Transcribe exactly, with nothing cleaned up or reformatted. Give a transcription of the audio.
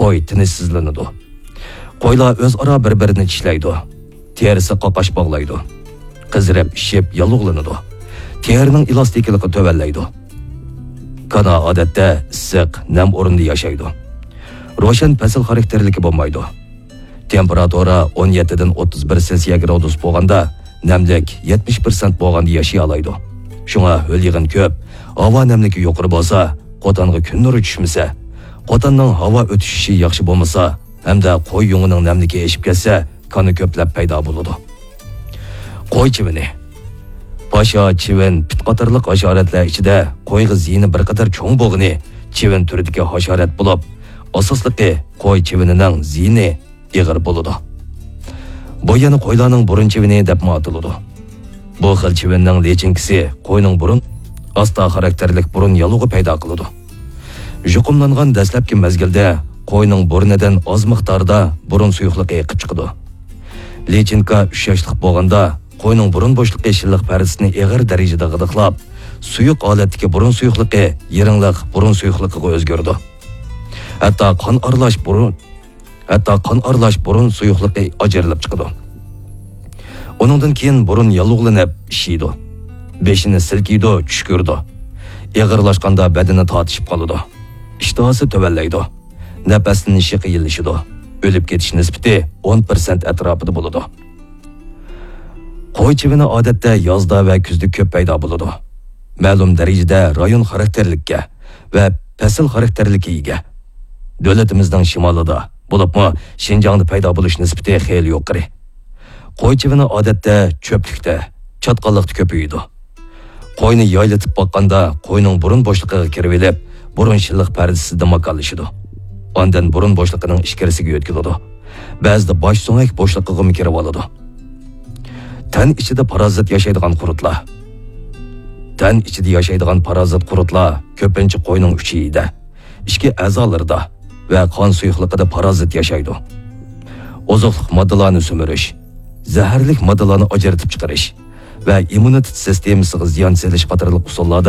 قوي تىنچسىزلىنىدۇ. قويلار ئۆزئارا بىر-بىرىنى چىشلەيدۇ. تېرىسى قاقاش باغلايدۇ. قىزىرىپ، ئىششىپ، ياللۇغلىنىدۇ. تېرىنىڭ ئېلاستىكىلىقى تۆۋەنلەيدۇ. كانا ئادەتتە ئىسسىق، نەم ئورنىدا ياشايدۇ. روشەن پەسىل خاراكتېرلىكى بولمايدۇ. تېمپېراتۇرا ئون يەتتىدىن ئوتتۇز بىر سېلسىيە گرادۇس بولغاندا، نەملىك يەتمىش پىرسەنت بولغاندا ياشىيالايدۇ. شۇڭا ھۆل يېغىن كۆپ، ھاۋا نەملىكى يۇقىرى بولسا، قوتانغا كۈن نۇرى چۈشمىسە، قوتاننىڭ ھاۋا ئۆتۈشۈشى ياخشى بولمىسا، ھەمدە قوي يۇڭىنىڭ نەملىكى ئېشىپ كەتسە، كانا كۆپلەپ پەيدا بولىدۇ. قوي چىۋىنى. پاشا، چىۋىن، پىت قاتارلىق ھاشاراتلار ئىچىدە قويغا زىيىنى بىر قەدەر چوڭ بولغىنى چىۋىن تۈرىدىكى ھاشارات بولۇپ، ئاساسلىقى قوي چىۋىنىنىڭ زىيىنى ئېغىر بولىدۇ. بۇ يەنە قويلارنىڭ بۇرۇن چىۋىنى دەپمۇ ئاتىلىدۇ. بۇ خىل چىۋىننىڭ لىچىنكىسى قوينىڭ بۇرۇن، ئاستا خاراكتېرلىك بۇرۇن ياللۇغى پەيدا قىلىدۇ. يۇقۇملانغان دەسلەپكى مەزگىلدە قوينىڭ بۇرنىدىن ئاز مىقداردا بۇرۇن سۇيۇقلۇقى ئېقىپ چىقىدۇ. لىچىنكا ئۈچ ياشلىق بولغاندا، قوينىڭ بۇرۇن بوشلۇقى شىللىق پەردىسىنى ئېغىر دەرىجىدە غىدىقلاپ، سۇيۇق ھالەتتىكى بۇرۇن سۇيۇقلۇقى يىرىڭلىق بۇرۇن سۇيۇقلۇقىغا ئۆزگىرىدۇ. ھەتتا قان ئارىلاش بۇرۇن، ھەتتا قان ئارىلاش بۇرۇن سۇيۇقلۇقى ئاجرىلىپ چىقىدۇ. ئۇنىڭدىن كېيىن بۇرۇن ياللۇغلىنىپ، ئىششىيدۇ. بېشىنى سىلكىيدۇ، چۈشكۈرىدۇ. ئېغىرلاشقاندا بەدىنى تارتىشىپ قالىدۇ. ئىشتىھاسى تۆۋەنلەيدۇ. نەپەسلىنىشى قىيىنلىشىدۇ. ئۆلۈپ كېتىش نىسبىتى ئون پىرسەنت ئەتراپىدا بولىدۇ. قوي چىۋىنى ئادەتتە يازدا ۋە كۈزدە كۆپ پەيدا بولىدۇ. مەلۇم دەرىجىدە رايون خاراكتېرلىككە ۋە پەسىل خاراكتېرلىككە ئىگە. دۆلىتىمىزنىڭ شىمالىدا، بولۇپمۇ شىنجاڭدا پەيدا بولۇش نىسبىتى خېلى يۇقىرى. قوي چىۋىنى ئادەتتە چۆپلۈكتە، چاتقاللىقتا كۆپىيىدۇ. قوينى يايلىتىپ باققاندا، قوينىڭ بۇرۇن بوشلۇقىغا كىرىۋېلىپ، بۇرۇن شىللىق پەردىسىدە ماكانلىشىدۇ. ئاندىن بۇرۇن بوشلۇقىنىڭ ئىچكىرىسىگە يۆتكىلىدۇ. بەزىدە باش سۆڭەك بوشلۇقىغىمۇ كىرىۋالىدۇ. تەن ئىچىدە پارازىت ياشايدىغان قۇرتلار. تەن ئىچىدە ياشايدىغان پارازىت قۇرتلار كۆپىنچە قوينىڭ ئۈچىيىدە، ئىچكى ئەزالىرىدا ۋە قان سۇيۇقلۇقىدا پارازىت ياشايدۇ. ئوزۇقلۇق ماددىلارنى سۈمۈرۈش، زەھەرلىك ماددىلارنى ئاجرىتىپ چىقىرىش ۋە ئىممۇنىتېت سىستېمىسىغا زىيان سېلىش قاتارلىق ئۇسۇللاردا